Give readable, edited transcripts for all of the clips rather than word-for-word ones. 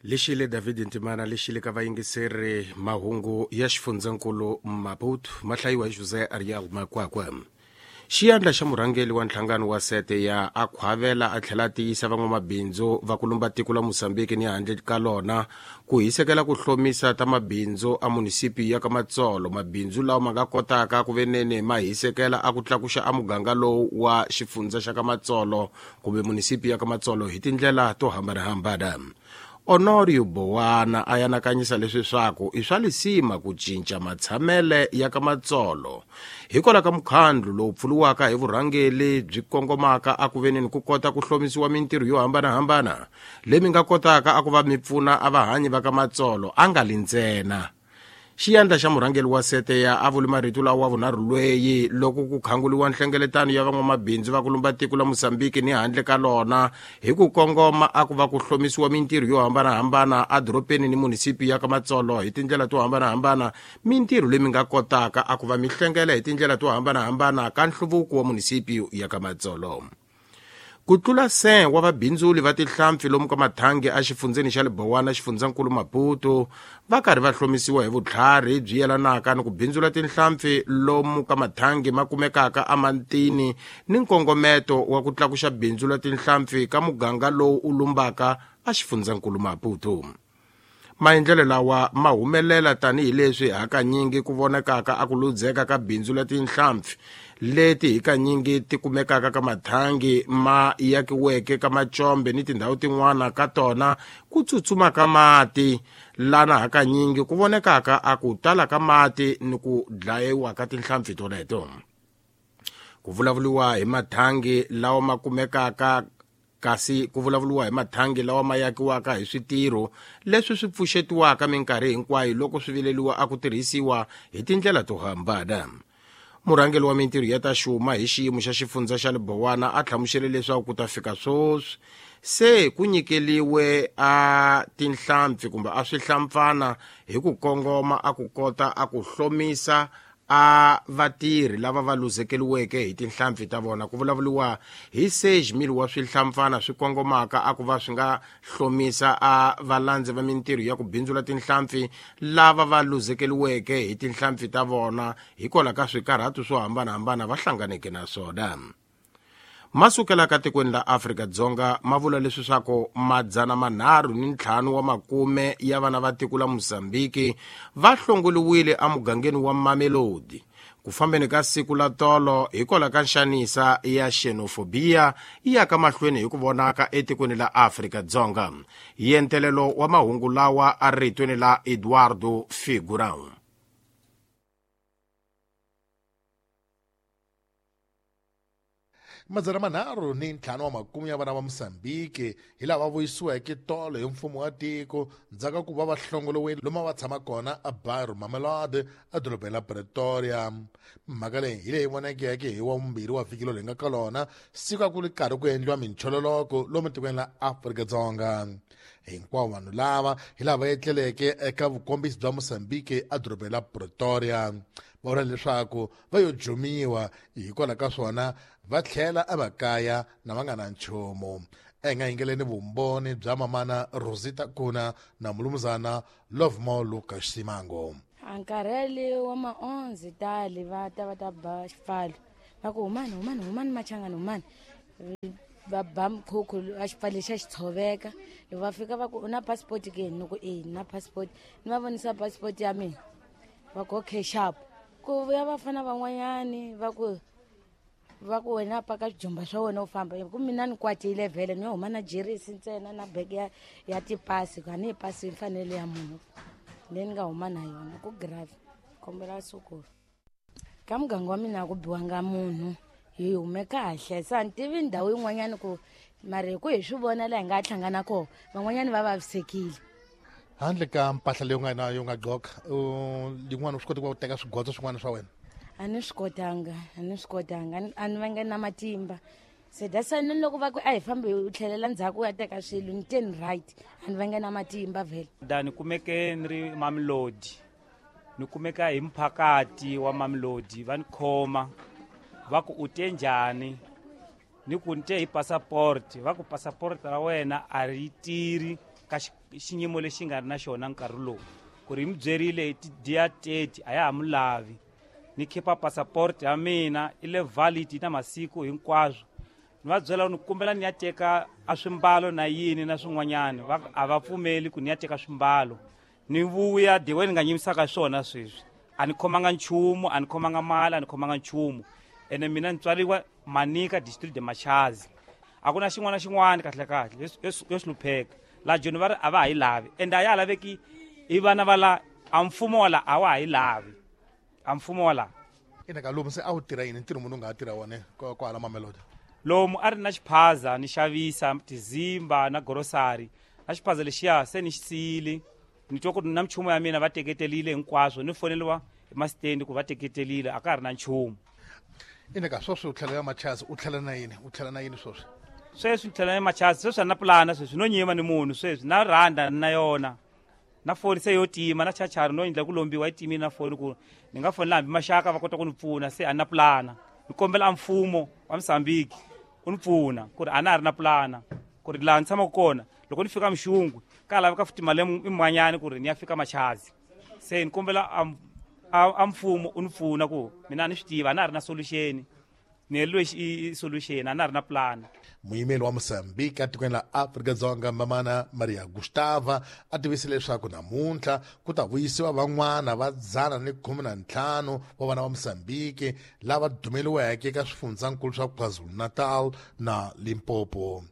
Lexile David Ntimana lexile ka vayingiseri mahungu ya xifundzankulu Maputo ma hlayiwa hi Jose Ariel Makwakwa. Xiyandla xa murhangeri wa nhlangano wa sete ya a khwavela a tlhela a tiyisa van'wamabindzu va ku lumba tiko la Mozambique ni handle ka lona ku hisekela ku hlomisa ta mabindzu a munisipi ya ka Matsolo, mabindzu lawa ma nga kotaka ku venene ma hisekela a ku tlakuxa a muganga lowu wa xifundza xa ka Matsolo kumbe munisipi ya ka Matsolo hi tindlela to hambanahambana. Honorio Bowana a yanakanyisa leswi swaku i swa lisima ku cinca matshamele ya ka Matsolo hikwalaho ka mukhandlu lowu pfuriwaka hi vurhangeli byi kongomaka a ku veneni ku kota ku hlomisiwa mintirho yo hambanahambana leyi mi nga kotaka a ku va mi pfuna a vahanyi va ka Matsolo a nga li ntsena. Xiyandla xa murhangeri wa sete ya a vuli marito lawa wa vunharhu lweyi loko ku khanguliwa nhlengeletano ya van'wamabindzu va ku lumba tiko la Mozambique ni handle ka lona hi ku kongoma a ku va ku hlomisiwa mintirho yo hambanahambana edorobeni ni munisipi ya ka Matsolo hi tindlela to hambanahambana, mintirho leyi mi nga kotaka a ku va mi hlengela hi tindlela to hambanahambana ka nhluvuko wa munisipi ya ka Matsolo. Ku tlula 100 wa vabindzuli va tihlampfi lomu ka mathangi exifundzeni xa Lebowana, xifundzankulu Maputo, va karhi va hlomisiwa hi vutlhari byi yelanaka ni ku bindzula tinhlampfi lomu ka mathangi ma kumekaka emantini ni nkongometo wa ku tlakuxa bindzu la tinhlampfi ka muganga lowu u lumbaka exifundzhankulu Maputo. Maendlelo lawa ma humelela tanihileswi hakanyingi ku vonakaka a ku ludzeka ka bindzu la tinhlampfi leti hikanyingi ti kumekaka ka mathangi ma yakiweke ka macombe ni tindhawu tin'wana ka tona ku tsutsuma ka mati lana hakanyingi ku vonekaka a ku tala ka mati ni ku dlayiwa ka tinhlampfi toleto. Ku vulavuriwa hi mathangi lawa ma kumekaka kasi ku vulavuriwa hi mathangi lawa ma yakiwaka hi switirho leswi swi pfuxetiwaka minkarhi hinkwayo loko swi vileliwa a ku tirhisiwa hi tindlela to hambana. Murhangeri wa mintirho ya ta xuma hi xiyimo xa xifundza xa Lebowana a hlamusele leswaku ku ta fika sweswi se ku nyikeliwe a tinhlampfi kumbe a swihlampfana hi ku kongoma a ku kota a ku hlomisa a vatirhi lava va luzekeliweke hi tinhlampfi ta vona. Ku vulavuriwa hi 6,000 wa swihlampfana swi kongomaka a ku va swi nga hlomisa a valandzi va mintirho ya ku bindzula tinhlampfi lava va luzekeliweke hi tinhlampfi ta vona hikwalaho ka swikarhato swo hambanahambana va hlanganeke na swona. Ma sukelaka tikweni la Afrika-Dzonga ma vula leswi swaku 305 wa makume ya vana va tiko la Mozambiki va hlongoliwile emugangeni wa Mamelodi ku fambeni ka siku la tolo hikwalaho ka nxanisa ya xenofobiya yi yaka mahlweni hi ku vonaka etikweni la Afrika-Dzonga. Yentelelo wa mahungu lawa a ritweni la Eduardo Figurão. 305 wa makume ya vana va Mozambique hi lava vuyisiweke tolo hi mfumo wa tiko ndzhaku ka ku va va hlongoliwile lomu va tshama kona eBairro Mamelodi edorobeni la Pretoria. Mhaka leyi hi leyi vonekeke hi wa vumbirhi wa vhiki lowu hi nga ka lona siku a ku ri karhi ku endliwa minchololoko lomu tikweni la Afrika-Dzonga. Hinkwavo vanhu lava hi lava etleleke eka vukombisi bya Mozambique edorobeni la Pretoria. Va vula leswaku va yo jumiwa hikwalaho ka swona va tlhela emakaya na va nga na nchumu. A hi nga yingeleni vumbhoni bya mamana Rosita Kuna na mulumuzana Lovemore Lucas Simango. A nkarhi wa maonzi tali va ta va ta ba xipfalo va ku humani humani humani machangani humani va ba mkhukhu a xipfalo lexa xi tshoveka loko va fika va ku u na passport ke ni ku e ni na passport ni va vonisa passport ya mina va ku okay sharp ku vuya vafana van'wanyani va ku va ku wena paka swijumba swa wena u famba ku mina ni kwatile vhele ni yo huma na jerisi ntsena na beke ya, ya tipasi ku a ni yi pasi yi fanele ya munhu leyi ni nga huma na yona ku grave kombela sukulu ka muganga wa mina a ku biwanga munhu hi hume kahle se a ni tivi ndhawu yin'wanyana ku mara hi ku hi swi vona laha hi nga hlangana kona van'wanyana va vavisekile Handle ka mpahla leyi u nga na yo nga gqoka yin'wana u swi koti ku va u teka swigodzo swin'wana swa wena? A ni swi kotanga, a ni swi kotanga, a ni vanga na matimba. Se that's why ni loko va ku a hi fambi u tlhelela ndzhaku u ya teka swilo ni te ni right, a ni vanga na matimba vhele. Da ni kumeke ni ri Mamelodi, ni kumeka hi mphakati wa Mamelodi va ni khoma va ku u te njhani, ni ku ni te hi passport, va ku passport ra wena a ri tirhi. ka xiyimo lexi nga ri na xona nkarhi lowu ku ri hi mi byerile hi ti-dia 30 a ya ha mu lavi. Ni khipa passport ya mina i le valid na masiku hinkwaswo. Ni va byela ni kombela ni ya teka a swimbalo na yini na swin'wanyana, a va pfumeli ku ni ya teka swimbalo. Ni vuya the way ni nga nyimisaka swona sweswi, a ni khomanga nchumu, a ni khomanga mali, a ni khomanga nchumu. Ene mina ni tswariwa Manika, district de Machazi. A ku na xin'wana na xin'wana kahle kahle yo hlupheka laha Joni va ri a va ha yi lavi, ende a ya ha laveki i vana va la a mfumo wa la a wa ha yi lavi a mfumo wa la. Ina ka lomu se a wu tirha yini, ntirho munhu u nga ha tirha wona kwahala Mamelodi? Lomu a ri na xiphaza, ni xavisa tizimba na grocery na xiphaza lexiya se ni xi siyile. Ni twa ku ri na minchumu ya mina va teketelile hinkwaswo, ni foneliwa hi masitendi ku va teketelile, a ka ha ri na nchumu. Ina ka sweswi u tlhela ya Machazi, u tlhela na yini, u tlhela na yini sweswi? Sweswi ni tlhela ya Machazi sweswi a na pulana, sweswi no nyima ni munhu sweswi na rhanda na yona na foni se yo tima na chachari no endla ku lombiwa yi timile na foni ku ni nga fonela hambi maxaka va kota ku ni pfuna. Se a na pulana, ni kombela a mfumo wa Mozambique u ni pfuna ku ri a na ha ri na pulana ku ri laha ni tshamaka kona loko ni fika Mxungwe ka laveka futhi mali imanyani ku ri ni ya fika Machazi. Se ni kombela a mfumo u ni pfuna ku mina a ni swi tiva a na ha ri na solution, ni heleriwe i solution, a na ha ri na pulana. Muyimeli wa Mozambique etikweni la Afrika-Dzonga, Mamana Maria Gustava, a tivise leswaku namuntlha ku ta vuyisiwa van'wana va 115 wa vana va Mozambique lava dumeliweke eka swifundzankulu swa KwaZulu-Natal na Limpopo.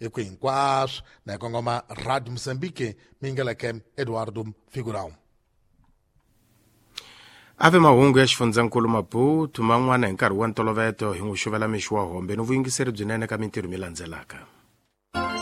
Eku hinkwaswo na hi kongoma Radio Mozambique, mi yingeleke Eduardo Figurão. A ve mahungu ya xifundzankulu Maputo man'wana hi nkarhi wa ntoloveto hi n'wi xuvela mixo wa hombe ni vuyingiseri byinene ka mintirho mi landzelaka.